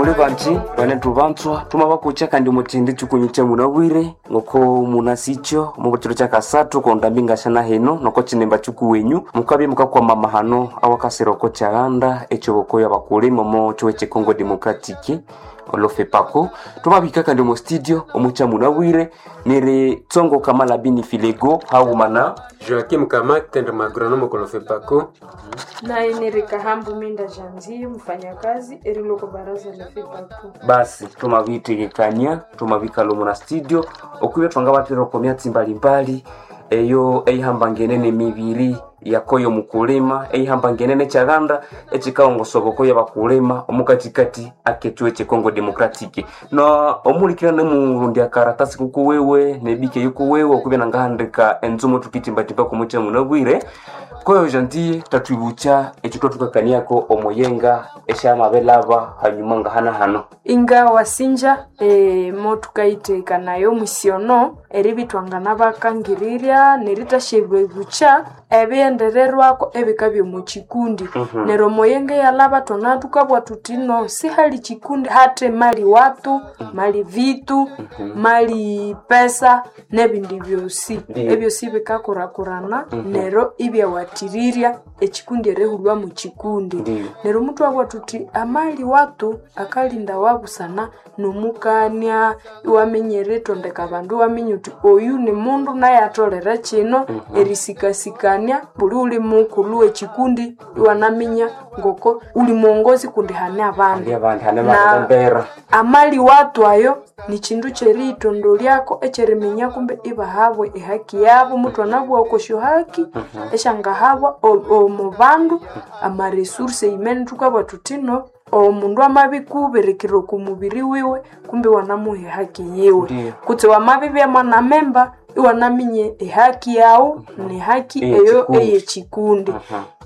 Muli banji bane tubanzwa tumabakucha kandi muthindi chikunyu cha munabwire ngoko munasicho mu chiro cha kasathu kondambi ngashana hino noko chinemba chikuwenyu mukabye mukakwama mahano awakasira oko chaghanda echoboko ya bakulima omo chiwe che Congo Democratic olofepako tumabika kandi omu studio omucha munabwire niri tsongo kamala bini filego haghumana Joaquim Kamate ndi magronome kolofepako. Naye ni Kahambu Minda Janzie, mfanyakazi eriloko baraza la FEPACO. Basi tumabitegekania tumabikala omu na studio okwibya twangabathera oko myatsi mbalimbali eyo eyihambangene nemibiri yakoyo mukulima eyihambangene nekyalanda ekikaongosa okoyo abakulima omukatikati akekyuwe kye Congo Democratic. Na omulikira nemurundi akaratasi kukuwewe nebike yukuwewe okwibya nangahandika enzumo tukitimbatimba kumucha munabwire. Koyo jantie tatwibucha ekyo twathukakaniako omuyenga esyamabelaba hanyuma ngahana hano. Inga wasinja motukayitekanayo omusiono eribithwangana bakangirirya neritasyabebucha ebighendererwako ebikabya omu kikundi. Neryo omuyenga eyalhaba thwana thukabugha thuthi no sihali kikundi hathe mali watu, mali vitu, mali pesa nebindi byosi. Ebyosi bikakurakurana neryo ibyawathirirya ekikundi erihulhwa mu kikundi. Neryo muthwabugha thuthi amali watu akalinda wabusana nomukania, iwaminya eritondeka abandu, iwaminya uthi oyu nimundu naye atholere kino, erisikasikania buli ghuli mukulhu wekikundi iwanaminya ngoko uli muwongozi kundi hane abandu. Hali abandi hane Na abandu amali watu ayo nikindu kyeriyitondolyako ekyeriminya kumbe ibahabwa ehaki yabo. Muthwanabugha oko syohaki esyangahabwa omu bandu, amaresource imene thukabugha thuthi no omundu amabikubirikira oko mubiri wiwe kumbe iwanamuha ehaki yiwe. Kutse wamabibya mwanamemba iwanaminya ehaki yaghu nehaki eyo eyekikundi.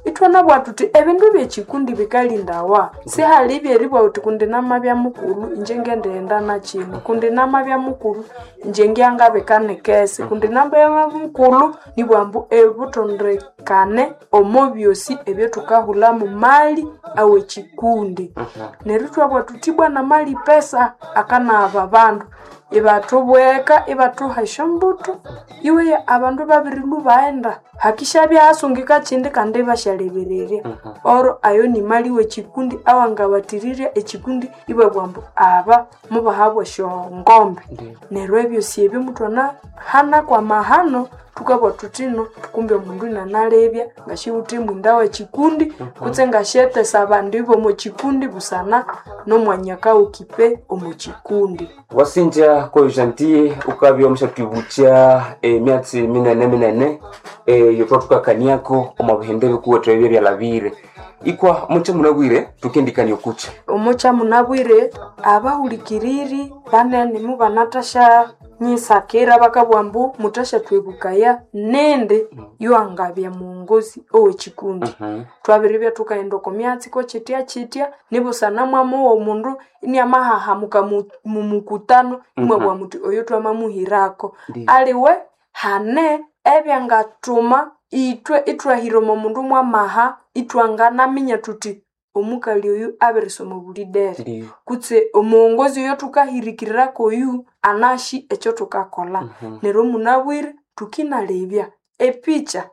Ithwanabugha thuthi ebindu byekikundi bikalindawa, sihali ebyeribugha wuthi kundi namabya mukulhu inje ngendighenda nakino, kundi namabya mukulhu inje ngyangabika nikesi, kundi namabya mukulhu nibugha ambu ebuthondekane omo byosi ebyathukahulhamu mali awekikundi. Neryo ithwabugha thuthi ibwa namali pesa akanaghaba abandu, ibathubweka ibathuha esyombuthu, iweya abandu babirilhwa ibaghenda hakisyabya hasungika kindi kandi ibasyalebererya. Oro ayo nimali wekikundi awangawathirirya ekikundi ibabugha ambu aba mubahabwa esyongombe. Neryo ebyosi ebyo muthwanahanaku amahano thukabugha thuthi no kumbe omundu inanalebya ngasiwithe mwinda wekikundi kutse ngasyetesa abandu bomo kikundi busana nomwanya akawukipe omo kikundi. Wasinja koyo jantie ukabya omusyathwibukya emyatsi minene minene eyo thwathukakaniako omo bihendo ebikuwethu ebyo ebyalhabire. Ikwa omucha munabwire thukendikania okukya. Omucha munabwire abahulikiriri banene mubanathasya nyisakira bakabugha ambu muthasyathwebukaya nindi yuwangabya muwongozi owekikundi. Thwabiribya thukaghenda oko myatsi kokyitya kyitya nibusana mwamugha omundu iniamahahamuka mumukutano imwabugha muthi oyo thwamamuhirako. Aliwe hane ebyangathuma ithwe ithwahira omo mundu mwamaha ithwanganaminya thuthi omukali oyu abirisoma obulidere kutse omuwongozi oyo thukahirikirirako oyu anasi ekyothukakolha. Neryo munabwire thukinalebya epicha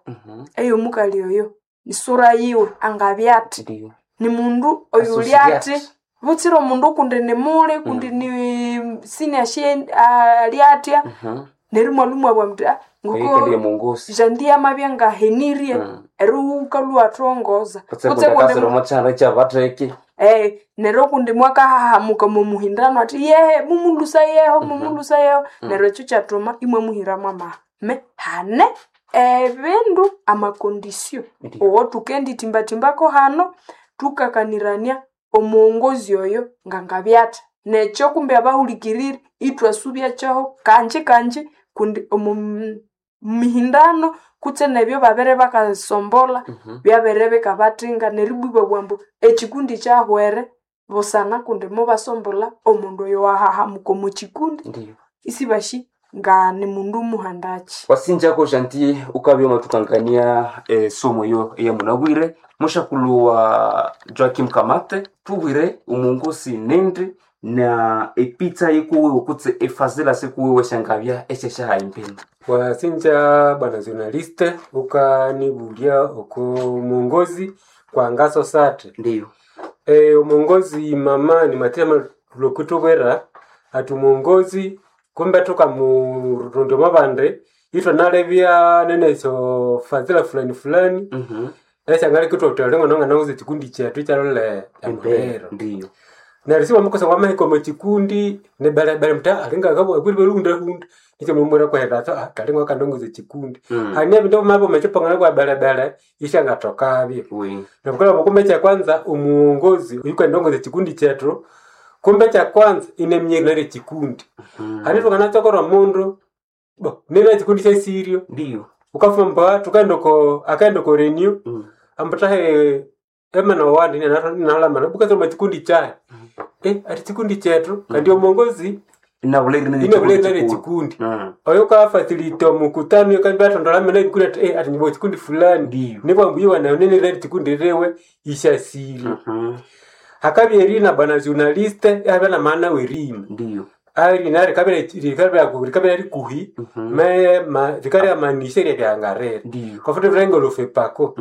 eyomukali oyo isura yiwe angabya athi, nimundu oyuli athi, butsire omundu kundi nimuli kundi ni siniasye ali athya. Neryo imwalhwa imwabugha muthi ngoko jandiye amabya ngahenirye neryo ghukalhwa iwathongoza. Kutse kundi akasira omo kyanda ekyabatheke. Neryo kundi mwakahahamuka omo muhindano athi yehe mumulhusayeho mumulhusayeho. Neryo ekyo kyathuma imwamuhiramu amaha. Me hane ebindu amakondisio owothukenditimbatimbako hano thukakanirania omuwongozi oyo ngangabya athi. Nekyo kumbe abahulikiriri ithwasubya kyoho kanji kanji kundi omo mihindano kutse nebyo babere bakasombolha byabere bikabathinga neryo ibwa ibabugha ambu ekikundi kyahwere busana kundi mubasombolha omundu oyo wahahamuka omo kikundi isibasi. Nga ni mundu muhandaki. Wasinjako Gentil ukabya wamathukangania esomo eyo eyamunabwire, mushakulhu wa Joakim Kamate, thubwire omuongosi nindi na epitsa yikuwiwe kutse efazila sikuwiwe syangabya esyasyaha imbeni. Wasinja bwana journaliste, ukanibulya oko mwongozi kwa ngaso sate. Ndiyo. Omuongozi mama ni matema lokutubwera ati omuongozi kumbe tukamurondya omo bandi ithwanalebya nene esyo fazila fulani fulani esyangaleka ithwathuthwalha ng'anawuza ekikundi kyethu ikyalolha Embere emuliro. ndiyo. Neryo siwamukosa wamahika omo kikundi nibelebele muthi alinga akwiri belihundahunda nikyo mumwira kwahera athi kalinga akandongoza ekikundi. Hane ebindu bimabya omo kipongano kwa belebele isyangathokabyo. Oui. Nabukalaba kumbe ekyakwanza omuongozi oyukandongoza ekikundi kyethu, kumbe ekyakwanza inaminya erina lyekikundi. Hane thukanatsokora omundu bo nina ekikundi kyesirio, Ndiyo. wukafuma mbu thukaghenda oko akaghenda oko renew ambu thahe emana wandi inalhamana bukatha omo kikundi kyahi, ati kikundi kyethu kandi omuongozi Inabulere inabulere erina lyekikundi. Oyo ukafacilita omukutano akabya athondola amena ebikundi athi ati nyuma kikundi fulani Ndiyo. nibwambu iwe nene erina lyekikundi liwe isyasirye. Hakabya erina bwana journaliste ihabya namaana werina. Ndiyo. Erina rikabya rikuhi rikalyamanisa eryabyanga riri. Ndiyo. Kwa mfano thulinga olufepako.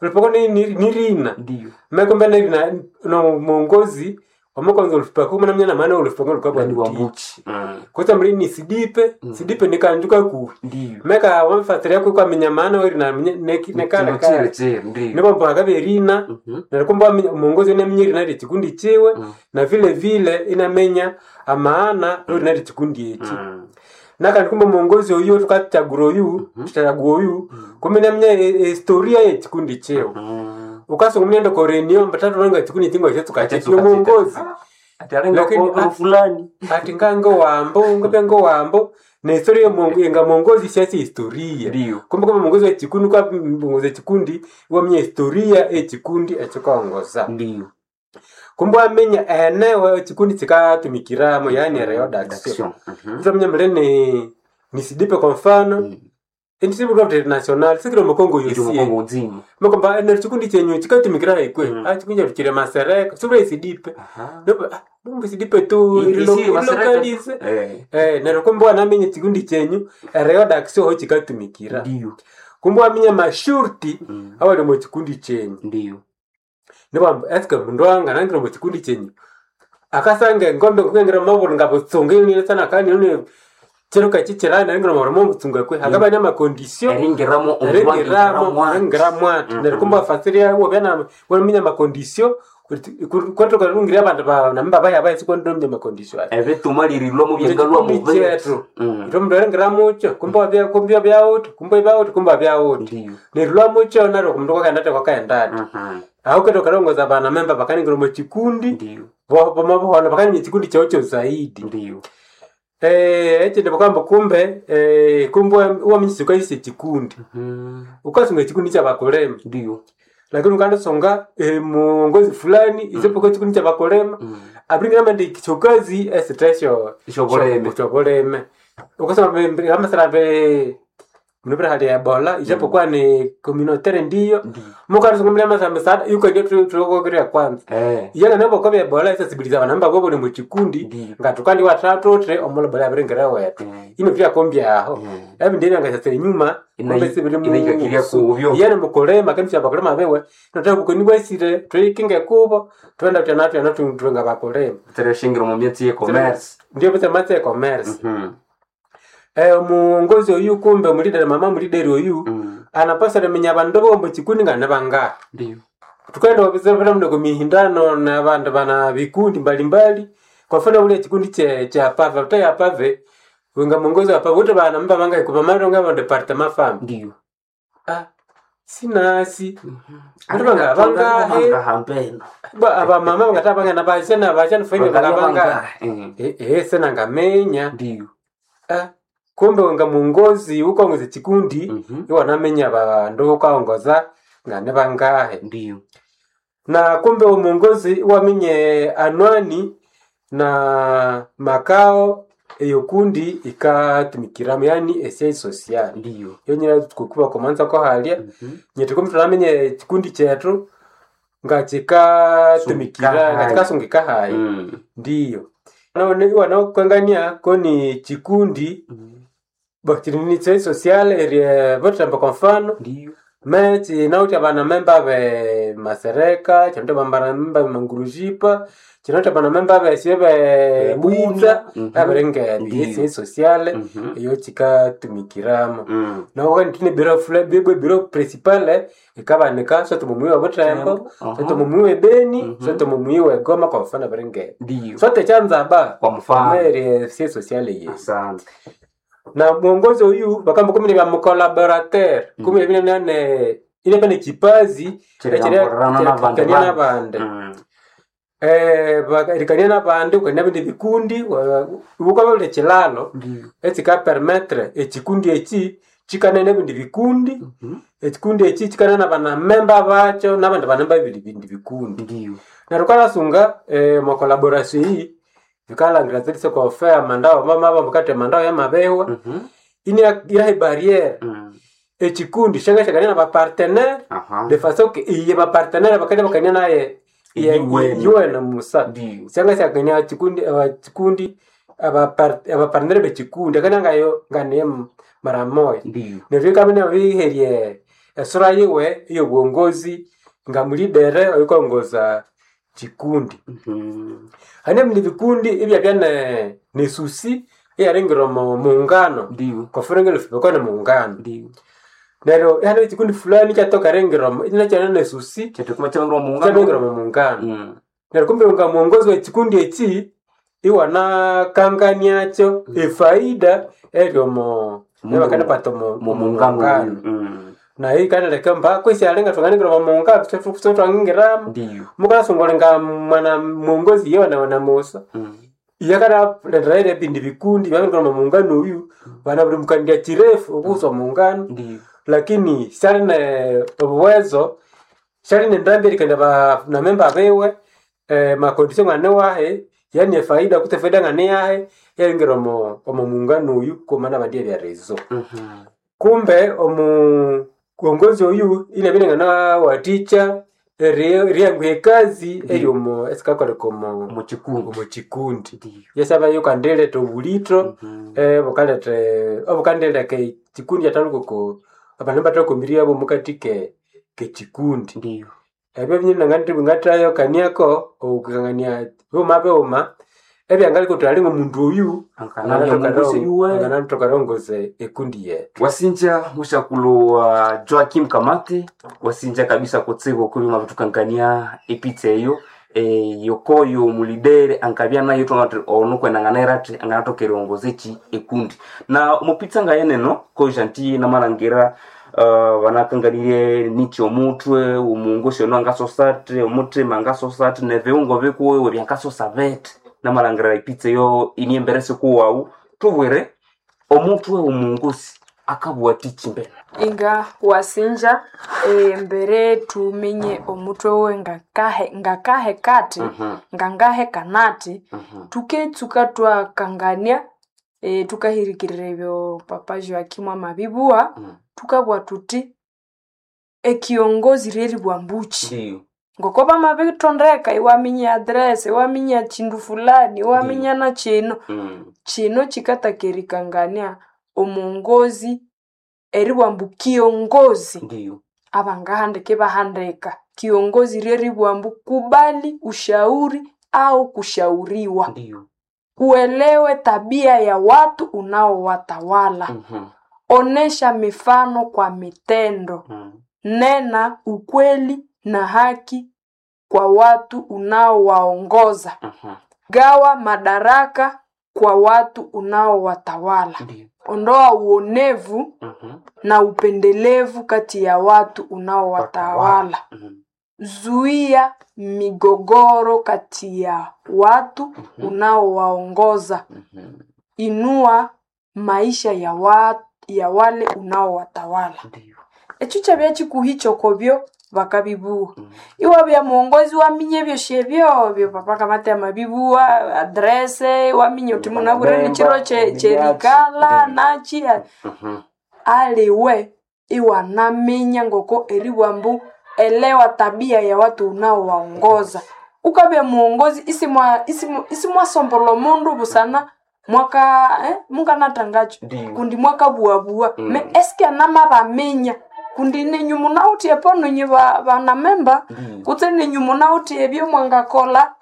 Olufepako nirina. Ndiyo. Mekumbe nerina nomuongozi wamukonza olufepako munaminya namaana wolufepako lukabya Ni luthiki. wambuchi. Kutse muri ni sidipe, sidipe ni kanju kakuhi. Ndiyo. Meka wamfatira kwaminya maana werina nekale Kino kale. chere chere ndiyo. Nibwambu hakabya erina neryo kumbe waminya omuongozi inaminya erina lyekikundi kyiwe na vile vile inaminya amaana werina lyekikundi eki. Nakandi kumbe omuongozi oyu thukakyagura oyu, thuthagua oyu, kumbe inaminya ehistoria yekikundi kyiwe. Wukasunga omundu inaghenda oko renew ambu thathulhanga ekikundi eki ngakyatsukakyi Akyatsuka omuongozi. Ati alinga Lakini kwa fulani. ati ngangowambo ngabya ngowambo nehistoria nga mwongozi syasi historia. Ndiyo. Kumbe kama mwongozi wekikundi ukaongoza ekikundi iwaminya historia yekikundi ekyikaongoza. Ndiyo. Kumbe waminya eneo ekikundi kikatumikiramu yani ereodaction. Ithwaminya mbere ni sidipe kwa mfano Indisibulwa international sikiri omu Congo Iri yosi. mukongo nzima. Mukomba ene chikundi chenyu chikatumikira haikwe. Chikundi chethu chiri masereka sibula isidipe. Nopo numbe isidipe tu Isi masereka. ilokalize. Neryo kumbe wanaminya chikundi chenyu ereodaction ho chikatumikira. Ndiyo. Kumbe waminya mashurti awali omu chikundi chenyu. Ndiyo. Nibwamba eske mundu wanganangira omu chikundi chenyu akasanga engombe kukengira mabulu ngabutsunga inine sana kandi nune chiruka chichirana ringira mabulu mubutsunga kwe hakaba namakondisio Eringiramo ringiramo ringiramo ati neryo kumbe wafasiria wabya waminya makondisio kwatoka rungira abandu namba baya baya sikwondomnya makondisio aya Ebituma lirilwa mu byangalwa mu Chikundi chetu ito mundu eringira mucho kumbe wabya kumbe byawuthi kumbe byawuthi kumbe byawuthi Ndiyo. neryo lwamucho naryo kumundu kwakaenda ati kwakaenda ati aho kete ukalongoza bana memba bakaningira omu kikundi Ndiyo. bomabuhona bakanimya ekikundi kyawu kyo zaidi. Ndiyo. Ekindi bakamba kumbe kumbe waminya sikayisa ekikundi ukasunga ekikundi kyabakulema Ndiyo. lakini ukandisunga muongozi fulani isipokuwa ekikundi kyabakulema abiringira amandi kyokazi esitesyo Isyoboleme. kyoboleme ukasoma amasara munupira hali ya ebola ijapokuwa ni communautaire ndiyo Ndiyo. mukandisunga muli amasara misada yukandio tulokokeria kwanza iyana nabo kwa ebola isasibiliza abandu babo ni mukikundi Ndiyo. nga tukandi watatu tre omulobola abiringira wetu ino vyakombya aho ebindi ebyangasasira enyuma kumbe sibiri mu- Inaikakiria kubyo. iyana mukulema kandi syabakulema bewe notaka kukoni bwesire tuikinge kubo twenda tyana tyana tuwenga bakulema Tereshingira mu myatsi ye commerce. ndio pesa matse e commerce omuongozi oyu kumbe mulideri mama mulideri oyu anapasa limenya abandu bombo chikundi nga nibangahi. Ndiyo. Tukaenda wabizabira mndo kumihindano na bandu bana vikundi mbalimbali kwa mfano ule chikundi che cha pave uta ya pave wenga mwongozi wa pave wote bana mba banga ikupa maro nga ba departement fam Ndiyo. sinasi Bandu banga bangahe hambeno. ba aba mama bangata banga na bashana bashana faini banga banga sena ngamenya Ndiyo. Kumbe wenga mwongozi ukongoza chikundi iwe wanamenya bandu ukaongoza nga ne bangahe. Ndiyo. Na kumbe umongozi wamenye anwani na makao Eyo kundi ikatumikiramu, yani esiege social. Ndiyo. Yonyine kukuba komanza ko halya. Nyeti kumbe tunamenye ekikundi kyethu ngakikatumikira, Sungika ngakikasungika hayi. Ndiyo. Nabone iwanakukangania koni chikundi bakiri ni siege social erie bothemba kwa mfano. Ndiyo. Me kinawithe abanamemba be masereka, kinawithe abanamemba be mangurujipa, kinawithe abanamemba besye be bwitha, abiringebyo. Ndiyo. Esiege social eyo kikatumikiramu. Naho kandi ne bureau bwe bureau principal ikabanika sote mumuyi wa Butembo, sote mumuyi we Beni, sote mumuyi we Goma kwa mfano abiringebyo. Ndiyo. Sote kyanzaba Kwa mfano. mere siege social ye. Asante. Na mwongozo uyu bakamba kumene bya mucollaborateur kumene bine nane ile pane kipazi Chirigamborana n'abandi chirikania bandu. n'abandi. Erikania n'abandi ukania bindi bikundi ukababula ekilalo Ndiyo. ekika permettre ekikundi eki kikane n'ebindi bikundi, ekikundi eki kikane n'abanamemba bakyo n'abandi banamemba b'ebindi bikundi. Ndiyo. Neryo wukayasunga omwa collaboration eyi bikalhangira tsetse kwa amandao mama mukathe amandao yamabehwa iniaha ebarriere ekikundi syangasyakania nabapartenaire de façon que iye bapartenaire bakabya bakania naye Iyiwene. iyiwene musa. Ndiyo. Syangasyakania kikundi abakikundi abapartenaire bekikundi akania ngayo nganiye mara moya. Ndiyo. Neryo ikabya inabiriherya esura yiwe ey'obuwongozi nga mulidere oyukaghongoza kikundi. Hane ebindi bikundi ibyabya nesusi eyaringira omo mughungano. Ndiyo. Kwafuna ngelufibeko nemughungano. Ndiyo. Neryo ihane ekikundi fulani ikyatoka eringira omo inakyane nesusi Kyathu kyabingira omu mughungano. kyabingira omo mughungano. Neryo kumbe nga mughongozi w'ekikundi eki iwanakanganiakyo efaida eri omo ebakanapata omo Mumughungano. mughungano. Nayo yikanaleka mba kwesi alinga thwanganengira omo mughungano thwangingiramu. Mukasunga nga mwana mughongozi iye wana musa. Iyakanalethera ebindi bikundi byabingira omo mughungano oyu banabirimukanirya kirefu obusa omughungano. Ndiyo. Lakini syali ne obuwezo, syali nendambi erikania banamemba biwe macondition ngane wahi, yani efaida kutse efaida ngane yahi eringira omo mughungano oyu kwamana abandi erya rezo. Kumbe omuwongozi oyu inabya inanganawathikya eriyanguha ekazi eryomo esikakoleka omo Omu kikundi. omu kikundi. Ndiyo. Yasaba yukandiletha obulitho bukaletha obukandileka ekikundi kyathalhuka oko abandu ibathakomiryabo omukati ke kekikundi. Ndiyo. Ebyo byonyini ngatayokaniako okukangania bighuma bighuma ebyangaleka wuthi ali ngomundu oyu Anganabya omughongozi yuwe. anganathoka erilongoza ekundi yethu. Wasinja mushakulo wa Joakim Kamate, wasinja kabisa kutsibu okubima bitukankania epitsa eyo yokoyo mulidere ankabya nayo thwangati ono kwenanganaira athi anganathoka erilongoza eki ekundi. Na omupitsa ngayeneno ko Gentil namalhangira banakanganirye niki omuthwe, omughongosi ono angasosa athi, omuthima angasosa athi, nebighungo bikuwiwe byangasosa bithi. Namalhangira epitsa eyo iniembere sikuwawu. Thubwire omuthwe womughongosi akabugha athiki mbene? Inga wasinja embere thuminye omutwe wiwe ngakahe ngakahekathi ngangahekanathi thuketsuka twakangania thukahirikirira ebyo papa Joakim amabibugha. Thukabugha thuthi ekiongozi lyeribugha mbukyi. Ndiyo. Ngoko bamabithondeka iwaminya eaddress, iwaminya kyindu fulani, iwaminya na kino. Kino kikataka erikangania omuwongozi eribugha ambu kiongozi. Ndiyo. Abangahandika ibahandika. Kiongozi lyeribugha ambu kubali ushauri au kushauriwa. Ndiyo. Uelewe tabia ya watu unaowatawala. Onesha mifano kwa mitendo. Nena ukweli na haki kwa watu unaowaongoza. Gawa madaraka kwa watu unaowatawala. Ndiyo. Ondoa uonevu na upendelevu kati ya watu unaowatawala. Zuia migogoro kati ya watu unaowaongoza. Inua maisha ya wale unaowatawala. Ndiyo. Ekyo kyabya kikuhi kyokobyo. Bakabibuwa. Iwabya muongozi waminya ebyosi ebyobyo papa kamate amabibuwa adrese iwaminya uthi munabwire Banamemba, nikiro kyerikala nachi aliwe iwanaminya ngoko eribwa mbu elewa tabia ya watu unaowaongoza. Ukabya muongozi isimwasombola omundu busana mwaka munganatangacho Ndiyo. kundi mwakabuwabuwa Mm. me eske anamabaminya kundi nenyu munawuthi epo ninyu banamemba Ndiyo. kutse nenyu munawuthi ebyo mwangakola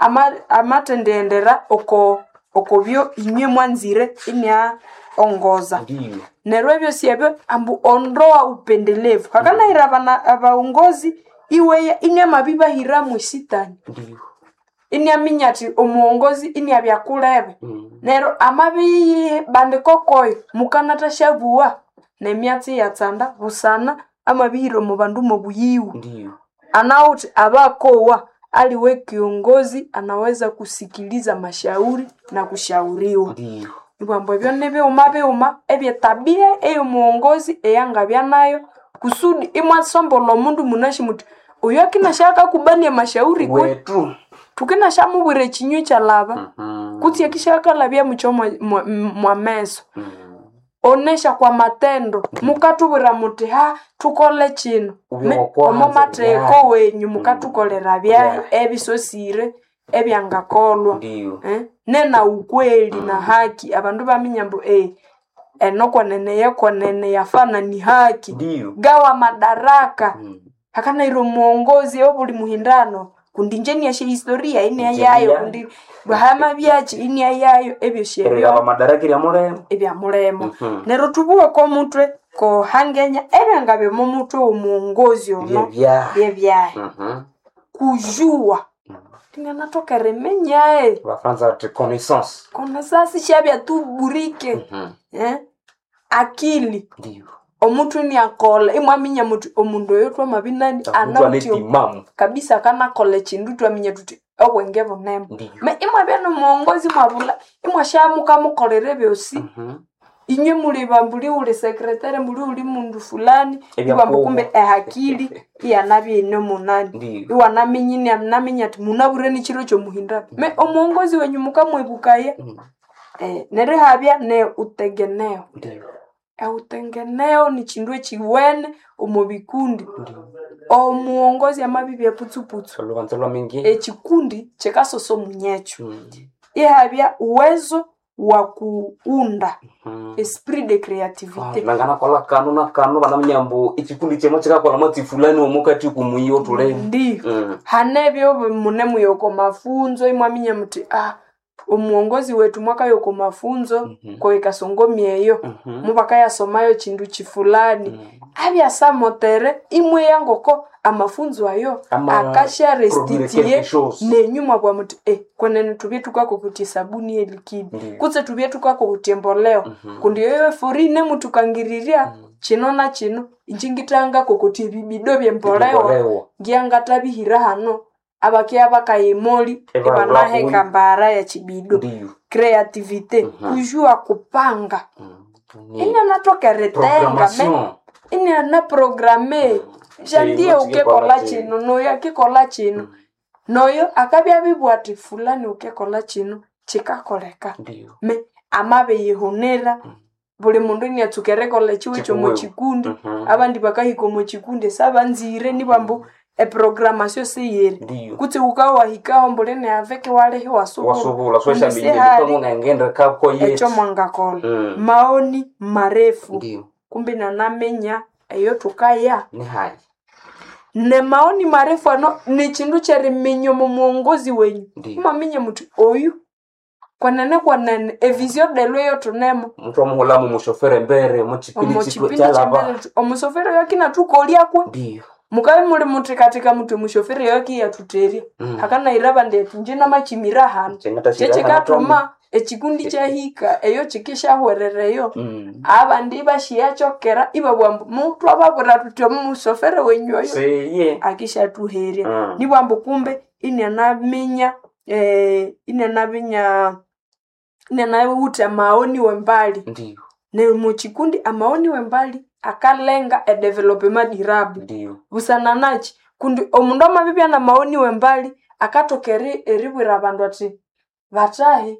amathendiyendera oko okobyo inywe mwanzire inia ongoza. Ndiyo. Neryo ebyosi ebyo ambu ondoa upendelevu hakanayira abaongozi iweya iniamabibahiramu esitani. Ndiyo. Iniaminya athi omuongozi iniabya kulebe. Neryo amabibandika okoyo mukanathasyabuwa nemyatsi iyatsanda busana amabihira omu bandu mobuyiwe. Ndiyo. Anawuthi abakowa aliwe kiongozi anaweza kusikiliza mashauri na kushauriwa. Ndiyo. Ibwambu ebyo nibighuma bighuma ebyetabia eyomuongozi eyangabya nayo kusudi imwasombolha omundu munasi muthi oyu akinasya akakubania amashauri kwe Wetu. thukinashamubwira ekinywa ekyalaba kutse akisyakalabya mukyo mwameso. Onesha kwa matendo mukathubwira muthi ha thukole kino Ubye Me- wakwanza omo matheko byahi. wenyu mukathukolera byahi ebisosire ebyangakolwa. Ndiyo. Nena ukweli na haki abandu baminya ambu eno kwenene yekwenene yafana ni haki. Ndiyo. Gawa madaraka hakanayira omuongozi obuli muhindano kundi inje niyasya historia iniayayo Inje kundi hamabyaki iniayayo ebyosi ebyo Erigaba madaraka erya mulema. ebyamulema. Neryo thubuwe komuthwe kohangenya ebyangabya omo muthwe womuongozi ono Byebyahi. byebyahi. Kujua inganathoka eriminyae Abafaransa bathi connaissance. konesasi syabya tu burike. Akili Ndiyo. omuthwe iniakolha imwaminya muthi omundu oyo twamabinani Mtu anawithe anetimamu. kabisa akanakolha ekindu twaminya thuthi obwenge bunene. Ndiyo. Me imwabya nomuongozi imwabulha imwasyamukamukolera ebyosi inywe muli bambuli wuli sekretary mbuli wuli mundu fulani Ebyakubo. ibambu kumbe ehakili iyanabya ine munani. Ndiyo. Iwanaminya inanaminya athi munabwire nikiro kyomuhindano. Me omuongozi wenyu mukamwebukaya neryo ihabya ne utengeneo. Ndiyo. Eutengeneo nikindu ekiwene omo bikundi. Omuongozi amabibya putsuputsu Olubanza lwamingi. ekikundi kikasosa omunyekyo. Ihabya uwezo wa kuunda esprit de creativité. Nanganakolha kanu na kanu banaminya ambu ekikundi kyemo kikakolha mwatsi fulani omukati kumuyi othulemu. Ndiyo. Hanebyo munemuya oko mafunzo imwaminya muthi omuongozi wethu mwakaya oko mafunzo koikasongomi eyo mubakayasomayo kindu kifulani. Abyasamotere imweya ngoko amafunzo ayo Ama produire akasyarestituye quelque chose. nenyu mwabugha muthi kwenene thubye thukakokothya esabuni elikidi Ndiyo. kutse thubye thukakokothya emboleo kundi eyo eforine muthukangirirya kino na kino inje ngithangakokotya ebibido byemboleo Emboleo. ngiyangathabihira hano abakeya bakaya emoli Ibabulha ibanaheka mbara ya kibido. Ndiyo. Creativité kujua kupanga Ni inanathoka eritenga me programmation. iniana programe jandiye Chino ukekola chikekola kino noyo akikola kino noyo akabya abibugha athi fulani ukekola kino kikakoleka. Ndiyo. Me amabiyihunira buli mundu iniatsuka erikolha ekiwe Kikuwewe. kyomukikundi abandi bakahika omukikundi esyabanzire nibambu eprogramasyo siyiri. Ndiyo. Kutse wukawahikaho mbuli neaveke walihi iwasubulha Wasubulha kundi swashambinyire sihali ngengende kako ekyo yetu. mwangakolha. Maoni marefu Ndiyo. kumbi nanaminya eyo thukaya Ni hayi. ne maoni marefu ano nikindu kyeriminya omo muongozi wenyu. Ndiyo. Imwaminya muthi oyu kwenene kwenene evisio delwe eyothunemo Muthu amuhulhamu mushofere embere mukipindi omo kitu kipindi kyalaba. kyembere omusoferi oyo akinathukolyakwe. Ndiyo. Mukabya imuli muthikathika muthi omushoferi oyo akiyathuterya. Hakanayira abandi athi inje namakimira hano. Kyekikathuma ekikundi kyahika eyo kikisyahwerera eyo. Abandi ibasyayakyokera ibabugha ambu muthwababwira thuthi omusoferi wenyu oyo Seye. akishathuherya. Nibwambu kumbe inianaminya inianaminya inianawutha amaoni wembali. Ndiyo. Neryo mukikundi amaoni wembali akalenga edevelopema durable. Ndiyo. Busana nakyi? Kundi omundu amabibya namaoni wembali akathoka eribwira abandu athi bathahi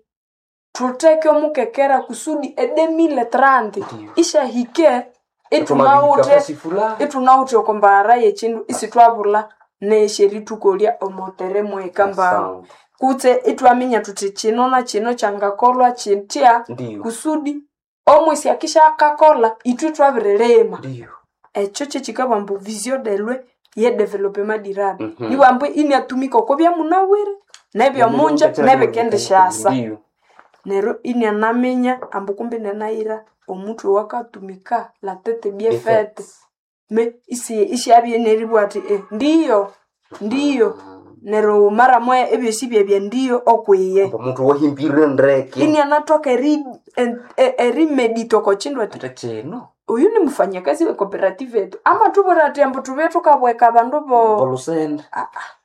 thutheke omukekera kusudi e2030 Ndiyo. isyahike Ithumabihika ithunawithe fasi fulani. ithunawithe okwambaghara yekyindu isithwabulha nesyerithukolya omotere mwekambao Asante. kutse ithwaminya thuthi kino na kino kyangakolwa kithya Ndiyo. kusudi omwisi akisya-akakolha ithwe thwabirilima. Ndiyo. Ekyo kyekikabugha ambu vision delwe ye development durable. Mhm. Nibugha ambu iniatumika okwa byamunabwire nebyomunja nebikendisyasa. Ndiyo. Neryo inianaminya ambu kumbi inanayira omuthwe owakatumika la tete bien Bien faite. faite. Me isi isyabya neribugha athi ndiyo ndiyo neryo mara moya ebyosi byabya ndiyo okwiye. Omuntu wahimbire ndeke. Inianathoka erimedita oko kindu athi Ate kino. oyu ni mufanyakazi we cooperative yetu amathubwira athi ambu thubye thukabweka abandu bo Bolusende.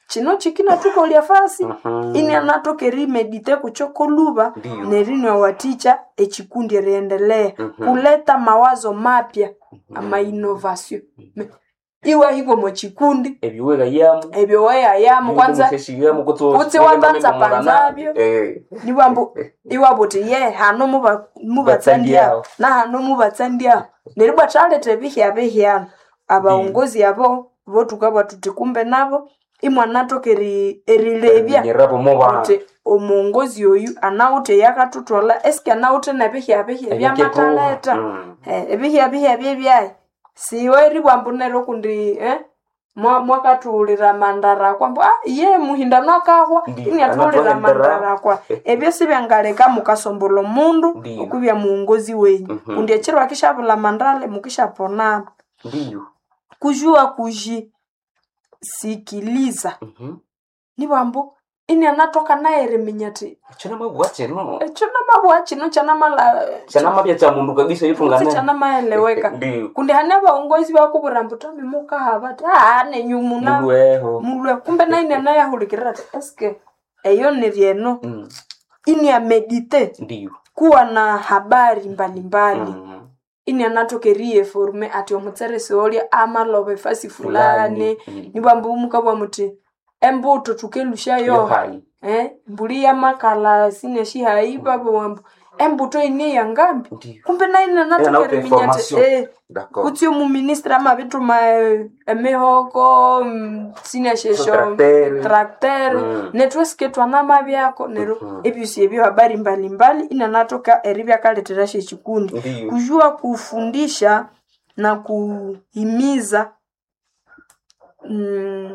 kino kikinathukolya fasi Mhm. inianathoka erimedite kukyo koluba Ndiyo. neriniwathikya ekikundi eriendelea Mhm. kuleta mawazo mapya ama innovation iwahika omo kikundi Ebiwega yamu. ebyo weyayamu kwanza kutse wapanzapanzabyo. Nibambu iwabuthi ye hano mubatsandyabo na hano mubatsandyabo neryo ibwa thaletha ebihya bihyano abaongozi abo bothukabugha thuthi kumbe nabo imwanathoka erilebya Nyerabo muba. uthi omuongozi oyu anawithe eyakathuthwalha esike anawithe nebihya bihya ebyamathaletha ebihya bihya byebyayi siwe eribugha ambu neryo kundi mwakathughulira amandara akwa ambu ye muhindano akahwa Ndiyo, iniathughulira anathuhendera. amandara akwa ebyo sibyangaleka mukasombolha omundu Ndiyo. okwibya muongozi wenyu Mhm. kundi ekiro akishabulha amandale mukishaponana Ndiyo. kujua kujisikiliza nibugha ambu inianathoka naye eriminya athi Chana mabwa chino. ekyo namabugha kino kyanamala Chana mabya cha mundu kabisa kutse yitungane. kyanamaeleweka Ndiyo. kundi hane abaongozi bakubwira ambu tami mukahaba ati nenyu muna Mulweho. mulwe kumbe naye inanayahulikirira ati eske eyo niryeno iniamedite Ndiyo. kuwa na habari mbalimbali inianathoka eriyeforume ati omutseresi olya amaloba efasi fulani nibwambu mukabugha muthi embuto thukelusyayo Yohai. mbuli yamakala sineshihayi babugha ambu embuto ine yangambi Ndiyo. kumbe naye inanathoka Inanawithe eriminya ati information. D'accord. kutse omuministra amabithuma emihoko sineshesho Tracteur. tracteur nethu esike thwanamabyako neryo ebyosi ebyo habari mbalimbali inanathoka eribya akalethera syekikundi Ndiyo. kujua kufundisha na kuhimiza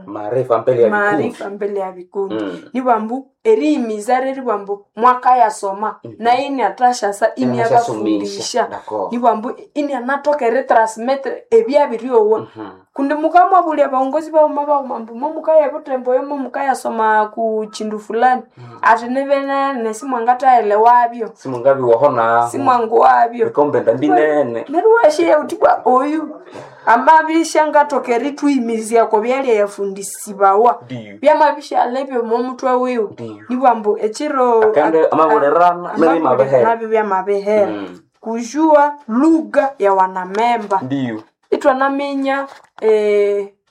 Maarifa mbele ya vikundi. maarifa mbele ya vikundi nibwambu erihimiza reribwambu mwakayasoma naye iniathashasa iniabafundisha D'accord. nibwambu inianathoka eritransmit ebyabiryowa kundi mukamwabulya abaongozi baghuma baghuma ambu momukaya butembo oyo momukayasoma ku kindu fulani ati nibenene simwangathaelewabyo Simungabi wahona. simwanguwabyo Bikombe ndambinene. neryo weshiya uthi bwa oyu amabishangathoka erithuhimizya ko byalya yafundisibawa Ndiyo. byamabishalha ebyo omomutwe wiwe Ndiyo. nibwambu ekiro Akande amabulerana nabi mabehera. nabyo byamabehera kujua lugha ya wanamemba Ndiyo. ithwanaminya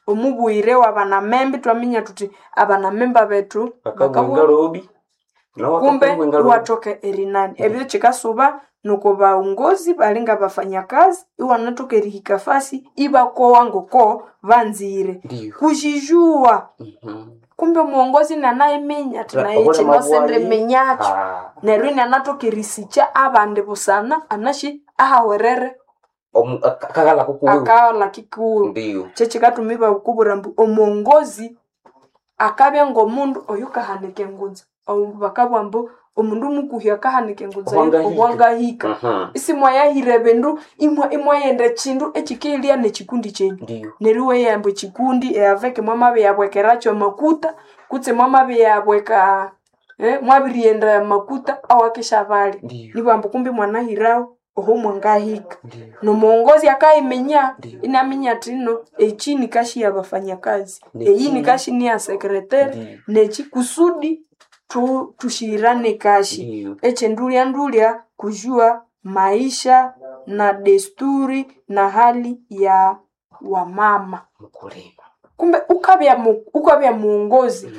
omubwire wa banamemba ithwaminya thuthi abanamemba bethu Bakabwenga robi. kumbe iwathoka erinani ebyo kikasuba nuko baongozi balinga bafanyakazi iwanathoka erihika fasi ibakowa ngoko banzire Ndiyo. kujijua kumbe omuongozi nanayiminya athi naye Obule kino mabwayi. sindiminyakyo neryo inianathoka erisikya abandi busana anashi ahawerere Akagala kukuwe. akaghalha kikuwe Ndiyo. kyekikathuma ibakubwira ambu omuongozi akabya ngomundu oyukahanika engunza bakabugha ambu omundu mukuhi akahanika engunza Obwangahika. obwangahika isimwayahira ebindu imwaghenda ekindu ekikeghilya nekikundi kyenyu Ndiyo. neryo iweyamba ekikundi eaveke mwamabiyabwekerakyo amakuta kutse mwamabiyabweka mwabirighenda amakuta awakisyabalya Ndiyo. nibugha kumbi mwanahirawo oho mwangahika Ndiyo. nomuongozi akayiminya Ndiyo. inaminya athi no echi nikashi ya bafanyakazi Neki. eyi nikashi niya sekretari Ndiyo. neki kusudi tushirane kashi Ndiyo. echendulya ndulya kujua maisha na desturi na hali ya wamama Mkulima. Kumbe ukabya muongozi,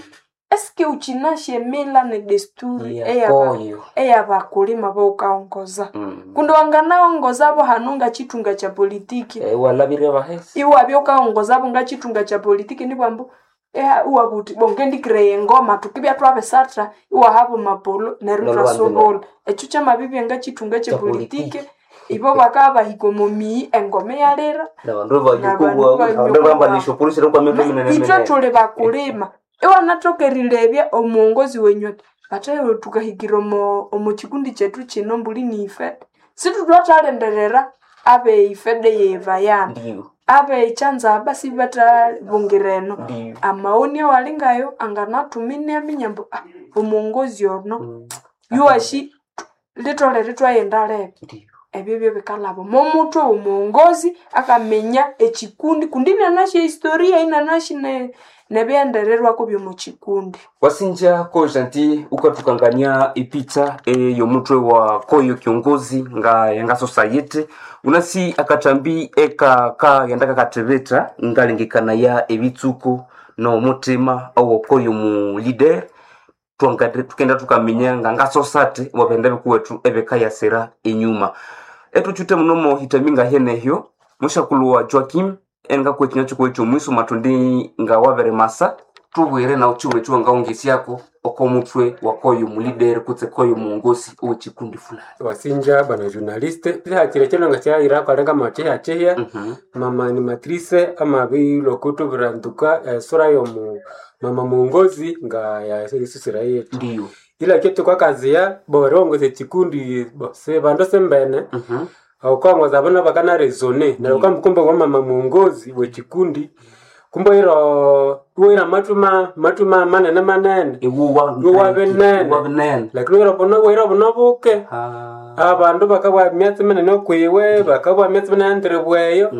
eske ukinasya emila ne desturi Yakoyo. eyabakulima bawukaongoza? Kundi wanganaongozabo hanu ngakithunga kya politiki. Walabire bahesi. Iwabya wukaongozabo ngakithunga kya politiki nibwambu iwabugha wuthi bo ngendikiraya engoma thukibya twabisatha iwahaba amapolo neryo Neryo ithwasobolha. Ekyo kyamabibya ngakithunga kya Kya politiki, politiki. ibo bakabya bahika omo miyi engoma iyalira Nabandu nabandu banyuko abandu bambanisha polisi kwa mito minene ithwe minene. thuli bakulima. Iwanathoka erilebya omuwongozi wenyu athi bathaye thukahikira omo kikundi kyethu kino mbuli ni ifede. Sithuthathalindirira abe ifede yevayana. Ndiyo. Abe kyanzaba sibathabungira eno. Ndiyo. Amaoni awalingayo anganathuma inaminya ambu omuwongozi ono yuwashi litholere ithwaghenda libi. Ndiyo. Ebyo byebikalhaba omo muthwe womuwongozi akaminya ekikundi kundi inanasi ehistoria inanasi nebighendererwako byomo kikundi. Wasinja ko gentil ukatukangania epicha ey'omutwe wa koyo kiongozi nga yanga society unasi akathambi eka kaghenda kakathibitha ngalengekanaya ebitsuko n'omutima owokoyo mu leader tukenda tukaminya nga nga society wabenda bikuwethu ebikayasira enyuma. Ethuthuthe muno mohitami ngahenehyo mushakulhu wa Joaquim engakuwa ekinywa kikuwa ekyomwiso mathundi nga wabirimasa tubwire nawu kiwuma ekiwangaghungisyako oko muthwe wakoyo mulideri kutse koyo muwongozi owekikundi fulani. Wasinja bwana journaliste kihakire kino nga kyayirako alinga makyihyakyihya. Mama animatrice amabilokuthubwira ntuka esura yomu mama muongozi nga yasusira yetu. Ndiyo. Ila kyetu kwakaziya bo eriongoza ekikundi bo sibandu simbene. Wukaongoza abana bakana resone neryo wukambu wa mama muongozi wekikundi kumbe iwira amathu mathu manene manene. Iwuwa Iwuwa binene. Iwuwa binene. Lakini iwira buno buke. Abandu bakabugha emyatsi minene okwiwe, bakabugha emyatsi minene endiribweyo.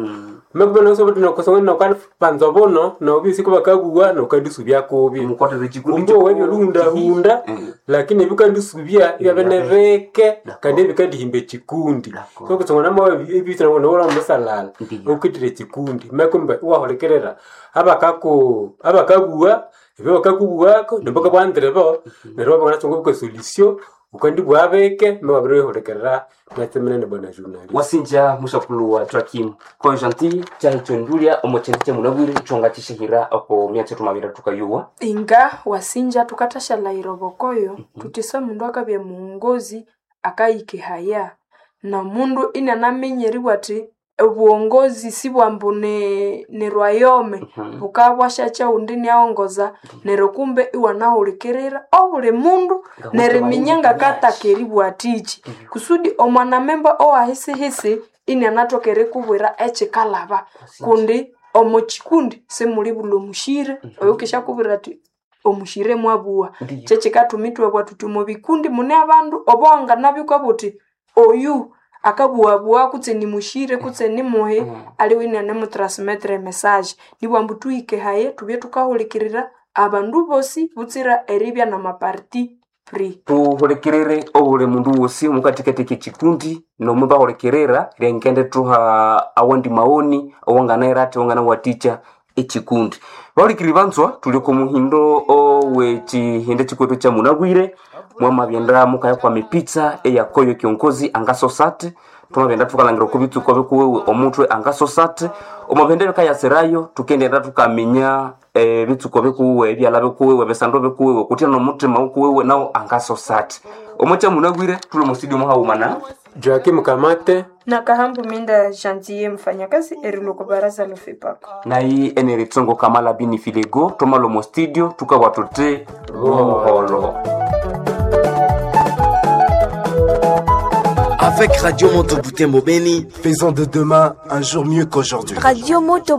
Mekuba nokusanganpanza obuno nobisi kubakabugha nokandisubya kubi. Mukwatire ekikundi Kumbe owe byolihundahunda lakini ebikandisubya ibyabya nibike kandi ebikandihimba ekikundi. So kusangana ebisangana omusalala Ndiyo. wukwitire ekikundi mekumbe iwahulikirira abakabugha ebyo bakakubwako nibakabugha ndiribo neryo iwabya wanganatsunga solution wukandibugha bike mewabirihulikirira emyatsi minene bwana journalist. Wasinja mushakulhu wa Joaquim ko gentil kyahikyo ndulya omo kyindu kyemunabwire ekyongakyishihira oko myatsi thumabira thukayuwa. Inga wasinja thukathasyalayira obokoyo thuthi semundu akabya muwongozi akayikehaya nomundu inanaminya eribugha athi obuwongozi sibwambu ni rwayome bukabya bwasyakya owundi iniaghongoza neryo kumbe iwanahulikirira obuli mundu neriminya ngakataka eribugha athiki kusudi omwanamemba owahisihisi inianathoka erikubwira ekyikalhaba kundi omo kikundi simulibulha omushire oyukishyakubwira athi omushire mwabugha. Kyekyikathuma ithwabugha thuthi omo bikundi mune abandu obowanganabya wukabugha wuthi oyu akabughabugha kutse nimushire kutse nimuhi aliwe inianemutransmetera emessage. Nibughambu thuhike haye thubye thukahulikirira abandu bosi butsira eribya namaparti pris. Thuhulikirire obuli mundu wosi omukathikathi ekikundi nomubahulikirira ryangendithuha awandi maoni awanganayira athi awanganawathikya ekikundi. Bahulikiriri banzwa thuli oko muhindo owekyihindi kyikwethu kyamunabwire mwamabyenda mukaya kwama epitsa eyakoyo kiongozi angasosa athi thwamabyenda thukalhangira oko bitsuko bikuwiwe omutwe angasosa athi omwabindu ebikayasirayo thukendighenda thukaminya ebitsuko bikuwiwe ebyalha bikuwiwe ebisando bikuwiwe kutya nomuthima wukuwiwe nawu angasosa athi. Omo kyamunabwire thuli omo studio muhaghuma na Joakim Kamate Nakahambu Minda Jantiye mfanyakazi erilwa baraza la FEPACO. nayi eneritsongo kamala bini filego thwamalwa omo studio thukabugha thuthi buholo. Avec Radio Moto Butembo Beni, Faisons de demain un jour mieux qu'aujourd'hui. Radio Moto.